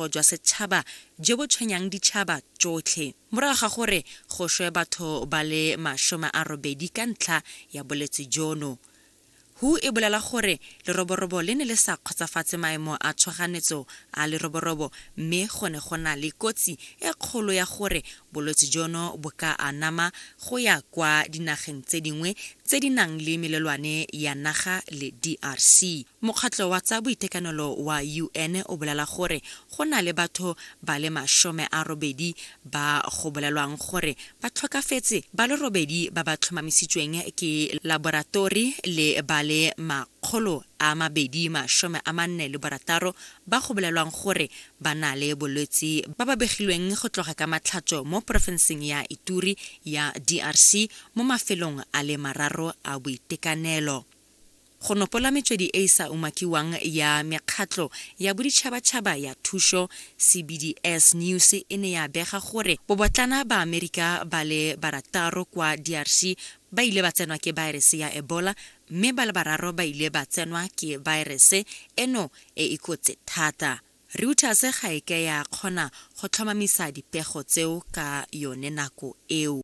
Jwa setšhaba jo bo tshwenyang ditšhaba tsotlhe morago ga gore go shwe batho ba le 80 ka ntlha ya bolwetse jono. Who e bolela gore leroborobo le ne le sa kgotsofatse maemo a tshoganyetso a leroborobo mme go ne go na le kotsi e kgolo ya gore bolwetse jono bo ka anama go ya kwa dinageng tse dingwe tse di nang le melelwane ya naga le DRC. Mokgatlho wa tsa boitekanelo wa UN o bolela gore go na le batho ba le 80 ba go bolelwang gore ba tlhokafetse, ba le 8 ba ba tlhomamisitsweng ke laboratori le ba le 246 ba go bolelwang gore ba na le bolwetse ba ba begilweng go tloga ka Matlhatso mo porofenseng ya Ituri ya DRC mo mafelong a le mararo a boitekanelo. Go nopola metswedi e e sa umakiwang ya mekgatlho ya boditšhabatšhaba ya thuso, CBDS News e ne ya bega gore bobotlana Baamerika ba le barataro kwa DRC ba ile ba tsenwa ke baerese ya Ebola mme ba le bararo ba ile ba tsenwa ke baerese eno e e kotsi thata. Reuters ga e ke ya kgona go tlhomamisa dipego tseo ka yone nako eo.